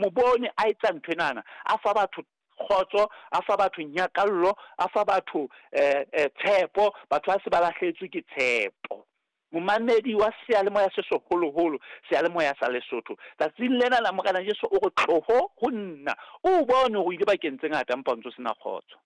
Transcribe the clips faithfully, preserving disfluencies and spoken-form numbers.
Mo bone a etsa ntho enana, a fa batho kgotso, a fa batho nyakallo, a fa batho eh, eh, tshepo, batho ba se ba lahlehetswe ke tshepo. Momamedi wa seyalemoya se seholoholo, seyalemoya sa Lesotho, tsatsing lena la Morena Jesu o re tloho ho nna. O bone hore o ile bakeng tse ngata empa o ntso sena kgotso.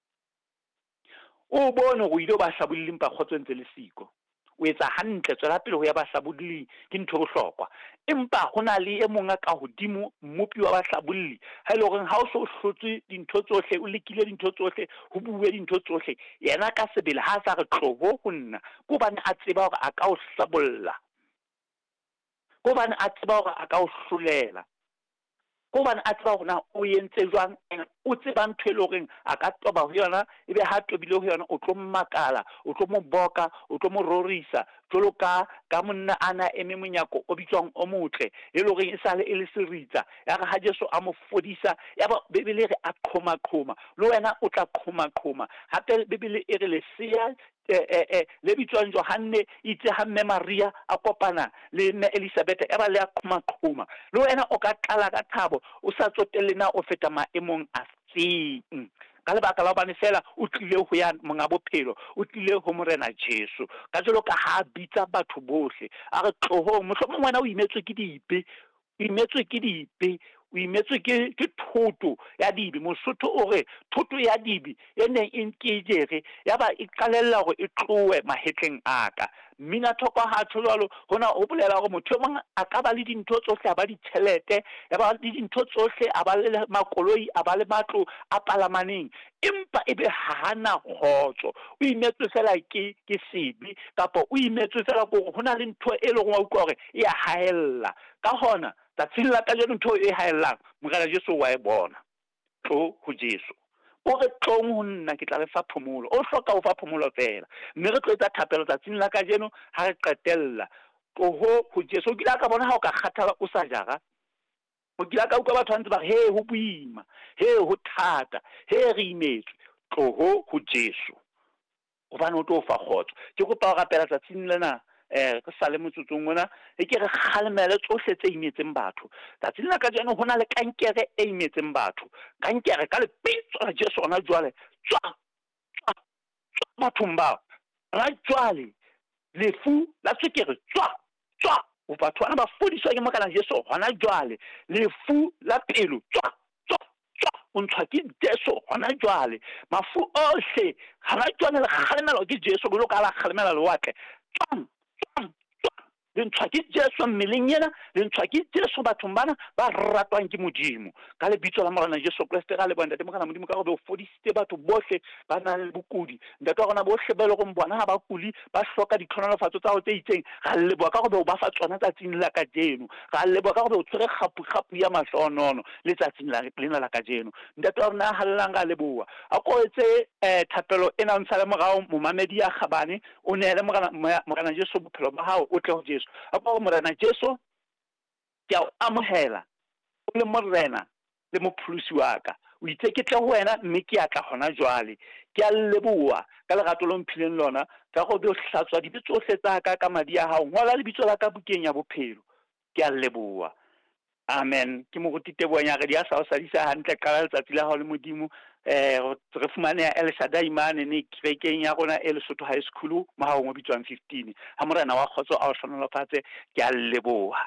O bone hore o ile o ba hlabolli empa kgotso e ntse le siko. O etsa hantle, tswela pele ho ya bahlabolling, ke ntho e bohlokwa. Empa ho na le e mong a ka hodimo, mmopi wa bahlabolli, ha e le horeng ha o so hlotse dintho tsohle, o lekile dintho tsohle, ho bue dintho tsohle, yena ka sebele ha a sa re tloho ho nna, ke hobane a tseba hore a ka o hlabolla, ke hobane a tseba hore a ka o hlolela, ke hobane a tseba hore na o entse jwang, and o tseba ntho e le horeng a ka toba ho yona, ebe ha tobile ho yona o tlo makala, o tlo mo boka, o tlo mo rorisa, jwalo ka, ka monna a na eme monyako o bitswang o motle, e le horeng e sale e le seritsa, ya re ha Jesu a mo fodisa, ya ba Bibele e re a qhoma-qhoma, le wena o tla qhoma-qhoma. Hape Bibele e re lesea eh, eh, eh, le bitswang Johanne, itse ha mme Maria a kopana le mme Elizabeth, ya ba le a qhoma-qhoma. Le wena o ka tlala ka thabo, o sa tsotelle na o feta maemong a feng, ka lebaka la hobane fela o tlile ho ya monga bophelo, o tlile ho Morena Jesu. Ka jwalo ka ha a bitsa batho bohle, a re tlohong, mohlomong wena o imetswe ke dibe, o imetswe ke dibe, o imetswe ke, ke thoto ya dibe. Mosotho o re thoto ya dibe e neng e nke jere, ya ba e qalella hore e tlohe mahetleng a ka. Mmina thoko ha tjho jwalo, hona ho bolela hore motho e mong a ka ba le dintho tsohle, a ba ditjhelete, ya ba le dintho tsohle, a ba le makoloi, a ba le matlo a palamaneng, empa ebe ha na kgotso. O imetswe fela ke, ke sebe, kapa o imetswe fela ke hore ho na le ntho e leng wa utlwa hore e a haella. Ka hona tsatsing la kajeno ntho e haellang, Morena Jesu wa e bona. Tlo ho Jesu. O re tlong ho nna, ke tla le fa phomolo. O hloka ho fa phomolo fela. Mme re tlo etsa thapelo tsatsing la kajeno ha re qetella. Tloho ho Jesu. O kile a ka bona ha o ka kgathala o sa jara? O kile a ka utlwa batho ba ntse ba re, he, ho boima, he, ho thata, he, re imetswe. Tloho ho Jesu, hobane o tlo fa kgotso. Ke kopa ho rapela tsatsing lena, eh, re sa le motsotsong ona, e ke re kgalemele tsohle tse imetseng batho. Tsatsing la kajeno ho na le kankere e imetseng batho. Kankere ka lebitso la Jesu hona jwale, tswa, tswa, tswa bathong bao. Hona jwale lefu la tswekere, tswa, tswa. O batho bana ba fodiswa ke Morena Jesu hona jwale. Lefu la pelo, tswa, tswa, tswa. O ntshwa ke Jesu hona jwale. Mafu ohle hona jwale le kgalemelwa ke Jesu, jwalo ka ha la kgalemela lewatle. Tswang, tswang, tswang. Le ntshwa ke Jesu mmeleng ena, le ntshwa ke Jesu bathong bana ba ratwang ke Modimo. Ka lebitso la Morena Jesu Kreste, ra leboha Ntate Morena Modimo ka hore o fodisitse batho bohle ba nang le bokudi. Ntate wa rona bohle ba e leng hore bona ha ba kuli, ba hloka ditlhonolofatso tsa hao tse itseng, ra leboha ka hore o ba fa tsona tsatsing la kajeno. Ra leboha ka hore o tshwere kgapu-kgapu ya mahlohonolo letsatsing la, lena la kajeno. Ntate wa rona ya hallelang, ra leboha. A ko etse, eh, thapelo ena o ntshale morao, momamedi ya kgabane, o neele Morena, Morena Jesu bophelo ba hao, o tle ho Jesu. A ko re, Morena Jesu, ke a o amohela o le Morena le mopholosi wa ka. O itse ke tle ho wena mme ke a tla hona jwale. Ke a leboha ka lerato lo mphileng lona, ka hore o hlatswa dibe tsohle tsa ka ka madi a hao. Ngola lebitso la ka bukeng ya bophelo. Ke a leboha. Amen. Ke moruti Teboho Nyaredi ya sa o sadisa hantle, qala letsatsi la hao le Modimo. Eh, re fumaneha El Shaddai mane ne kerekeng ya rona e Lesotho High School, mohahong o bitswang fifteen. Ha Morena wa kgotso a o hlohonolofatse, ke a leboha.